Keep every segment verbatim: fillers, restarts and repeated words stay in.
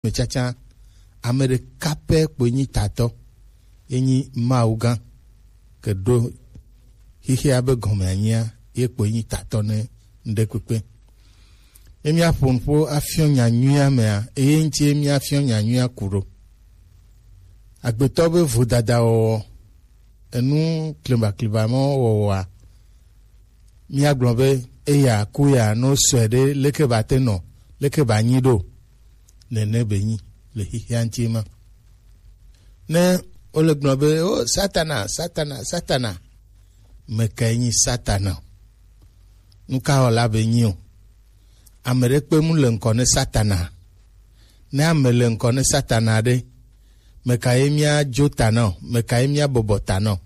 me tsatsa, ame ɖeka pɛ kpoe nyi tatɔ, ye nyi Mawu gã, ke ɖo xexea be gɔme anyia, ye kpoe nyi tatɔ ne ŋɖe kpekpe. Ye míaƒo nuƒo afiɔ nya nyuia mea, eye ŋuti ye míafiɔ nya nyuia ku ɖo. Agbetɔ be vodada wɔwɔ, enu klimbaklimba mɔ wɔwɔa, míagblɔ be eya ku ya, no sɔe ɖe, leke ba te nɔ, leke ba nyi ɖo, nene be nyi le xexea ŋuti ma. Ne wole gblɔ be, o, Satana, Satana, Satana, mekae nyi Satana? Nu ka wɔla be nyi o? Ame ɖe kpe mu le ŋkɔ ne Satana. Ne ame le ŋkɔ ne Satana ɖe, mekae míadzo ta na o? Mekae míabɔbɔ ta na o?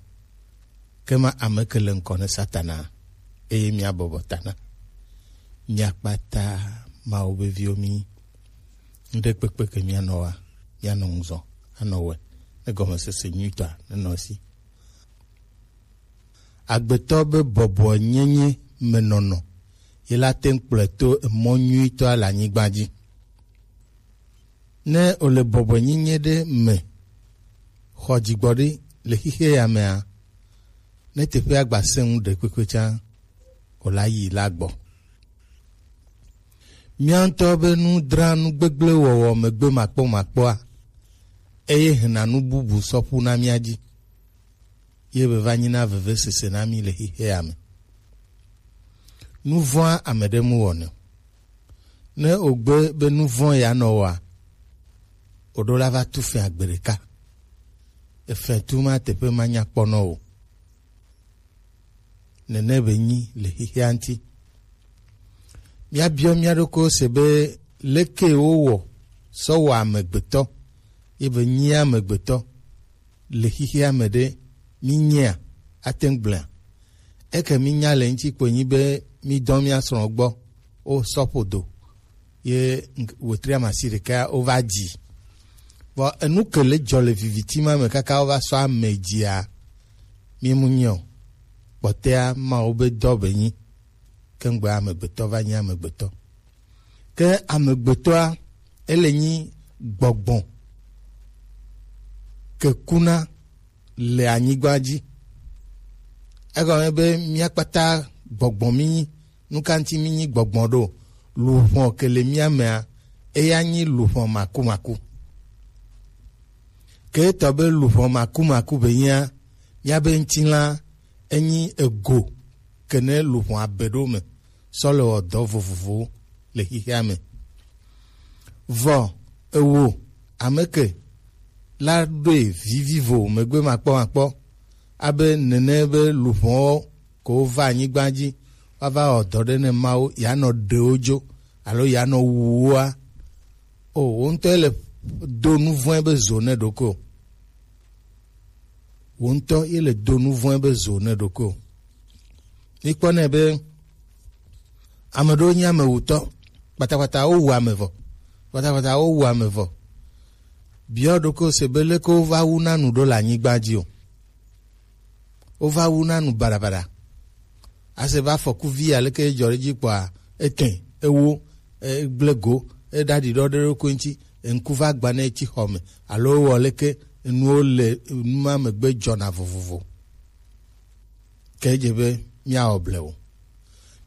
Ke ma ame ke le ŋkɔ ne Satana, eye míabɔbɔ ta na. Mía kpata Mawu be viwo mí. Ŋɖe kpekpe ke míanɔ wa, míanɔ ŋuzɔ, anɔ wɛ, ne gɔmesese nyuitɔa nenɔ esi. Agbetɔ be bɔbɔenyenye me nɔnɔ, ye la te ŋu kplɔe to emɔ nyuitɔa le anyigba dzi. Ne wòle bɔbɔenyenye ɖe me xɔ dzigbɔɖi le xexea ya mea, ne teƒea gba sẽ ŋu ɖe kpekpe tsã, wòla yi la gbɔ. Mía ŋutɔ be nudra nu gbegblẽ wɔwɔ megbe makpɔmakpɔa, eye hena nu bubu sɔ ƒu na mía dzi, ye be va nyina vevesese na mí le xexea me. Nu vɔ̃a ame ɖe mu wɔnɛ o. Ne wògbe be nu vɔ̃ ya nɔ wɔa, wòɖo la va tu fɛ̃ agbe ɖeka. Efɛ̃ tu ma teƒe manyakpɔnɔ o. Nene be nyi le xexea ŋuti. Míabiɔ mía ɖokuiwo se be, leke wowɔ sɔ wɔ amegbetɔ, ye be nyi amegbetɔ le xexea me ɖe, mínyea, ate ŋu gblɔea? Eke mínya le ŋuti kpoe nyi be mídɔ mía srɔ̃ gbɔ, wosɔ ƒodo, ye ŋk-, wetri amasi ɖeka wova dzi. Vɔ enu ke le dzɔ le viviti ma me kaka wova sɔ ame dzia, mímu nyɛ o. Kpɔtɛa Mawu be dɔ be nyi, ke ŋgbe amegbetɔ va nyi amegbetɔ. Ke amegbetɔa, ele nyi gbɔgbɔ ke kuna le anyigba dzi. Egɔme be mía kpata gbɔgbɔ mí nyi. Nu ka ŋuti mí nyi gbɔgbɔ ɖo? Luʋɔ ke le mía mea, eya nyi luʋɔ makumaku. Ke etɔ be luʋɔ makumaku be nyia, míabe ŋutilã enyi ego ke ne luʋɔa be ɖo me sɔ le wɔ dɔ vovovowo le xexea me. Vɔ ewo ame ke la ɖoe vivivo megbe makpɔmakpɔ, abe nene be luʋɔwo ko va anyigba dzi, woava wɔ dɔ ɖe ne Mawu, yeanɔ ɖe wo dzo alo yeanɔ wu woa? O, wò ŋutɔ ele do nu vɔ̃e be zo ne ɖokui o. Wò ŋutɔ ye le do nu vɔ̃e be zo ne ɖokui o. Mikpɔ nɛ be ame ɖewo nye amewutɔ, kpatakpata wowu ame vɔ, kpatakpata wowu ame vɔ. Biɔ ɖokui se be leke wova wu na nu ɖo le anyigba dzi o. Wova wu na nu baɖabaɖa. Ase be afɔku vi aleke edzɔ ɖe edzi kpɔa, etɛ, ewo, egblẽ go, eɖaɖi ɖɔ ɖe eɖokui ŋuti, eŋku va gba ne etsi xɔ me, alo ewɔ leke, enuwo le enu ma megbe dzɔna vovovo. Ke edze be míawɔ blewu.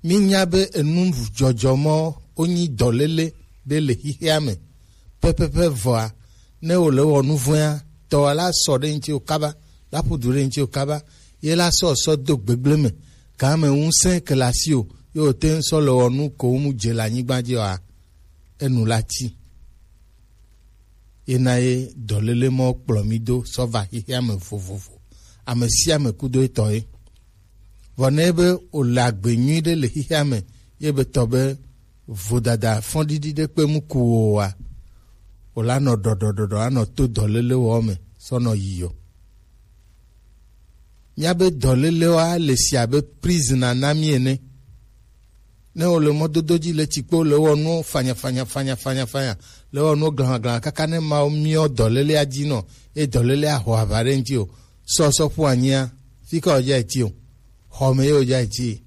Mínya be enu dzɔdzɔ mɔ wonyi dɔléle ɖe le xexea me pɛpɛpɛ vɔa, ne wòle wɔ nu vɔ̃a, tɔwòa la sɔ ɖe ŋuti wò kaba, la ƒu du ɖe ŋuti wò kaba, ye la sɔ sɔ do gbegblẽ me, gã me ŋusẽ ke le asiwò, ye wòte ŋu sɔ le wɔ nu ko ŋu dze le anyigba dzi oa, enu la ti. Ye na ye dɔléle mɔ kplɔ mí do sɔ va xexea me vovovo. Ame sia ame kudo etɔ ye. Vɔ ne be wòle agbe nyui ɖe le xexea me, ye be tɔ be vodada fɔɖiɖi ɖe kpe mu ku wò oa, wòla nɔ ɖɔɖɔɖɔɖɔ anɔ to dɔléle wɔ me sɔ nɔ yi o. Míabe dɔlélewoa le si abe prison na mí ene. Ne wòle mɔdodo dzi le tsikpo le wɔ nuwo fanya fanya fanya fanya fanya, le wɔ nuwo glahã glahã kaka ne Mawu miɔ dɔlélea dzi nɔ, eye dɔlélea ho aʋa ɖe ŋuti o, sɔ sɔ ƒu anyia, fi ka wòdza eti o, xɔ me ye wòdza eti.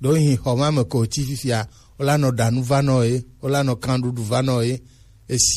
Ɖewohĩ xɔ ma me ko wòtsi fifia, wola nɔ ɖa nu va nɔ ye, wola nɔ kan ɖuɖu va nɔ ye, Esi